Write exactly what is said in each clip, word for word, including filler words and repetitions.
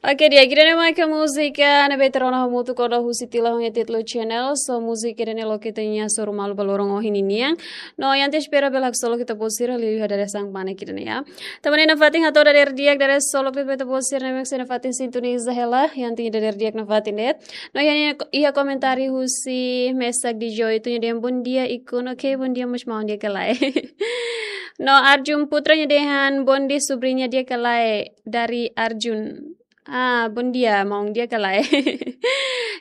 Oke, di'ak, ida-ne'e mak múzika ne'ebé ita rona hamutuk ona husi Tila ho nia títulu Channel. So, múzika ida-ne'e loke ita-nia hasoru malu ba loron ohin ninian. No, iha ita espera bele haksolok ita-boot sira liuliu iha dadeer-saan kmanek ida-ne'e, ya. Tanba ne'e nafatin hato'o dadeer di'ak, dadeer solok de'it ba ita-boot sira ne'ebé sei nafatin sintoniza hela, iha ita-nia dadeer di'ak nafatin de'it. No, iha, iha komentáriu husi Mesak Dijo, ita-nia dehan bondia Ikun, oke, bondia mós maun, di'ak ka lae. No, Arjun Putra nia dehan bondia subriña, di'ak ka lae, dari Arjun. Ah, bondia, maun, di'ak ka lae.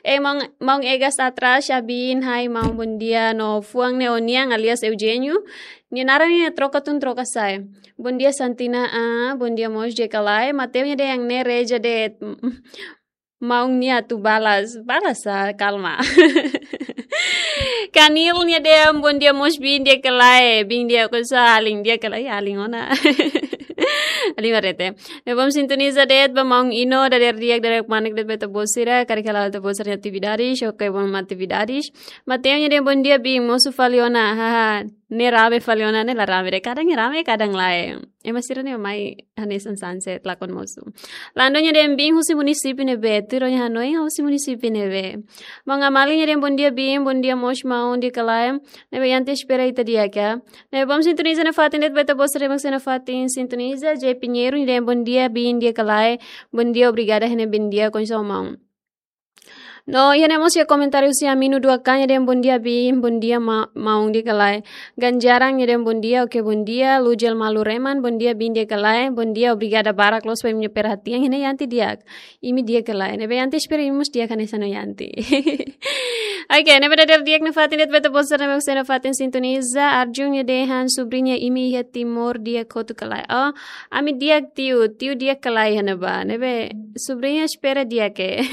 Eh, maun, maun Egas Atras, Abin, hai, maun, bondia, no fuan ne'e ó-nian, alias Eugenio. Nia naran ne'e troka tun troka sa'e. Bondia Santina, ah, bondia mós, di'ak ka lae. Mateo nia dehan ne'e reja de'it, maun, nia atu balas, balas, ah, kalma. Kanil nia dehan bondia mós bin, di'ak ka lae, bin di'ak ka lae, alin, di'ak ka lae, alin ona. Alin barete. Ne'ebé bom sintoniza de'it ba maun Ino, dadeer di'ak, dadeer kmanek de'it ba ita-boot sira, karik hala'o ita-boot sira-nia atividades, oke, bom atividades. Mateo nia dehan bondia bin, mosu fali ona, haha, ne'e rame fali ona, ne'e la rame de'it, kadang ne'e rame, kadang lae. Ema sira-ne'e mai hanesan sunset, lakon mosu. Lando nia dehan bin husi munisípiu ne'ebé, tuir ó-nia hanoin husi munisípiu ne'ebé. Maun Amali nia dehan bondia bin, bondia mós maun, di'ak ka lae. Ne'ebé iha ita espera ita di'ak, ya. Ne'ebé bom sintoniza nafatin de'it ba ita-boot sira ne'ebé sei nafatin sintoniza. J Pinheiro nia dehan bondia bin, di'ak ka lae. Bondia, obrigada, hene bin di'ak, kondisaun maun. No, iha ne'e mós iha komentáriu husi Aminu Dua K nia dehan bondia bin, bondia ma-, maun, di'ak ka lae. Ganjaran nia dehan bondia, oke, bondia. Lujel Malu Reman, bondia bin, di'ak ka lae. Bondia, obrigada barak loos ba imi-nia perhatian, hene Yanti di'ak. Imi di'ak ka lae. Ne'ebé iha ita espera imi mós di'ak hanesan Yanti. Oke, ne'ebé dadeer di'ak nafatin de'it ba ita-boot sira ne'ebé sei nafatin sintoniza. Arjun nia dehan subriña imi iha Timor di'ak hotu ka lae. Oh, ami di'ak tiu, tiu di'ak ka lae iha ne'ebá. Ne'ebé subriña espera di'ak, eh.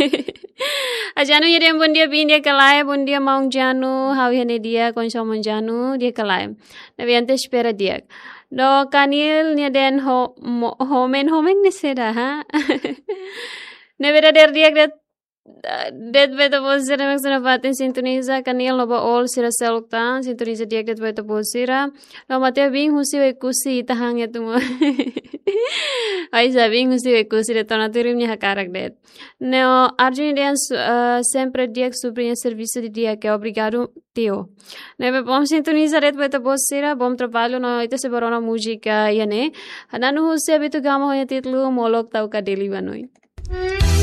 Ajanu nia dehan bondia bin, di'ak ka lae, bondia maun Janu, ha'u iha ne'e di'ak, kondisaun maun Janu, di'ak ka lae. Ne'ebé iha ita espera di'ak. No, Kanil nia dehan ho-, mo-, homen, homen ne'e saida, ha? Ne'ebé dadeer di'ak de'it, de'it ba ita-boot sira ne'ebé sei nafatin sintoniza, Kanil no ba all sira seluk tan, sintoniza di'ak de'it ba ita-boot sira. No, Mateo bin husi Oekusi, ita han atu mo. Ai, sa bin husi Oekusi de'it ona, tuir imi-nia hakarak de'it. No, Arjun nia dehan su-, eh, sempre di'ak, subriña servisu di'ak, obrigadu, tiu. Ne'ebé bom sintoniza de'it ba ita-boot sira, bom trabalho, no ita sei bá rona múzika iha ne'e. Hananu husi Abito Gama ho nia títulu Molok Tau Kadeli Banoi.